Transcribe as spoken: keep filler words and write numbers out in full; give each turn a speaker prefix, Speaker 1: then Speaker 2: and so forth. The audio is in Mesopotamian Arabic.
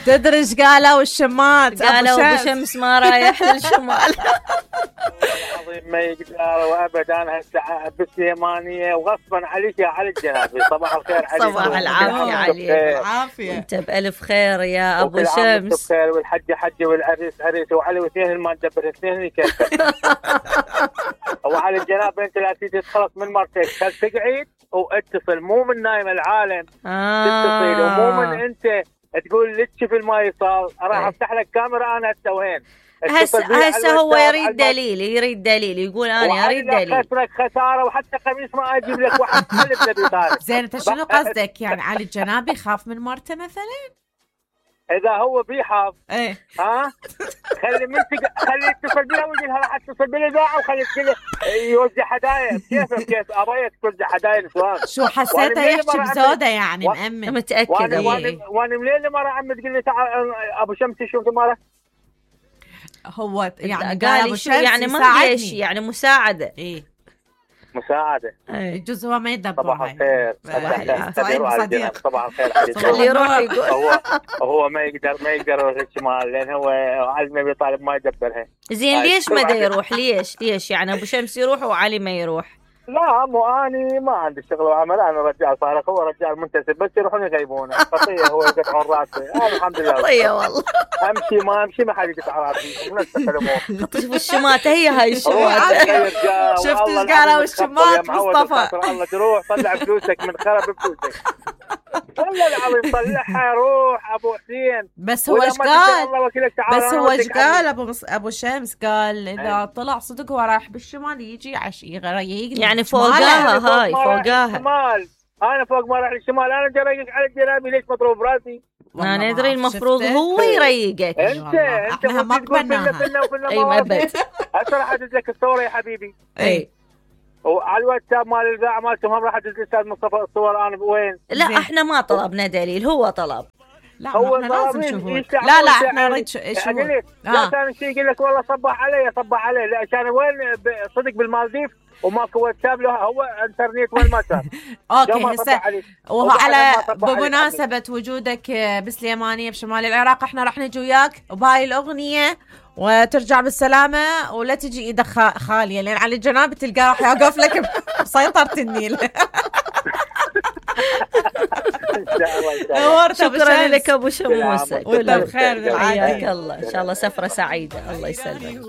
Speaker 1: تدري ايش قالوا الشمات؟
Speaker 2: قالوا ابو شمس ما رايح للشمال.
Speaker 3: العظيم ما يقدر وابدا. هسه بالسيمانيه وغصبا عليك يا علي الجنابي. صباح الخير عليك.
Speaker 2: صباح العافيه عليك.
Speaker 1: العافيه.
Speaker 2: انت بالف خير يا ابو شمس.
Speaker 3: بخير والحجه حجه والعريس عريس وعلي واثنين ما ندبر اثنين كيف. وعلى الجناب انت لا تيجي تخلص من مرتك تقعد واتصل مو من نايم العالم.
Speaker 2: آه.
Speaker 3: تتصل ومو من انت تقول لك في الماي صار راح افتح لك كاميرا انا هسه وين.
Speaker 2: هسه هسه هو يريد دليل يريد دليل يقول انا اريد دليل.
Speaker 3: خسرك خساره وحتى قميص ما اجيب لك واحد قلب نبي طارق.
Speaker 1: زين انت شنو قصدك يعني علي الجنابي خاف من مرته مثلا؟
Speaker 3: اذا هو بيحاف
Speaker 1: ايه
Speaker 3: ها خلي منتج خلي يتصل بيها ويقول لها راح اتصل بالاذاعه وخلي يوزع هدايا. كيف كيف ابغيك توزع هدايا نسوان.
Speaker 1: شو حسيته يحكي بزوده يعني مأمن
Speaker 2: متاكد.
Speaker 3: وانا وانا منين المره عم تقول لي تعال ابو شمس شوف المره.
Speaker 1: هو يعني
Speaker 2: قال شو يعني ما ليش يعني مساعده.
Speaker 1: ايه
Speaker 3: مساعده.
Speaker 1: يجوز هو ما يدبر.
Speaker 3: صباح الخير. صباح الخير.
Speaker 2: خليه يروح يقول.
Speaker 3: هو هو ما يقدر ما يقدر يروح الشمال لان هو علي ابي طالب ما يدبرها.
Speaker 2: زين ليش ما دا يروح؟ ليش ليش يعني ابو شمس يروح وعلي ما يروح؟
Speaker 3: لا مو اني ما عندي شغل وعمل. انا رجال صارخ هو رجال منتسب بس يروحون يغيبونه. خطيه هو يقطعون راسه. انا الحمد لله
Speaker 2: خطيه والله.
Speaker 3: امشي ما امشي ما حد يقطع راسي. ونسخ الامور.
Speaker 2: شوف الشماطه هي هاي الشماطه.
Speaker 1: شفت ايش قالوا الشماط مصطفى؟
Speaker 3: الله تروح طلع فلوسك من خرب فلوسك. والله العظيم طلعها روح ابو حسين.
Speaker 1: بس هو ايش قال؟ بس هو ايش قال ابو مص... ابو شمس قال اذا طلع صدق هو رايح بالشمال يجي عش يغير
Speaker 2: يعني فوقاها هاي فوقاها.
Speaker 3: انا فوق ما راح للشمال. انا جريك على الجنابي ليش مضروب راسي؟
Speaker 2: انا ادري المفروض هو يريقك.
Speaker 3: انت انت
Speaker 1: ما قبلناها.
Speaker 2: اي ما ابد.
Speaker 3: هسه راح ادز لك الصوره يا حبيبي.
Speaker 2: اي
Speaker 3: وعلى الواتساب مال الاذاعه مالتهم هم راح ادز الاستاذ مصطفى الصور. انا وين؟
Speaker 2: لا احنا ما طلبنا دليل هو طلب.
Speaker 1: لا هو لازم شهود. لا لا احنا نريد شهود.
Speaker 3: لا كان شيء يقول لك والله صبح علي صبح علي. لا عشان وين صدق بالمالديف وماكو واتساب له هو انترنت وين ما كان.
Speaker 1: اوكي هسه وهو على بمناسبه وجودك بسليمانيه بشمال العراق احنا راح نجي وياك وبهاي الاغنيه وترجع بالسلامه ولا تجي ايدك خاليه لان على الجناب تلقاه راح يوقف لك بسيطره النيل.
Speaker 2: شكرا لك ابو شموسه.
Speaker 1: وانت بخير.
Speaker 2: حياك الله ان شاء الله سفره سعيده. الله يسلمك.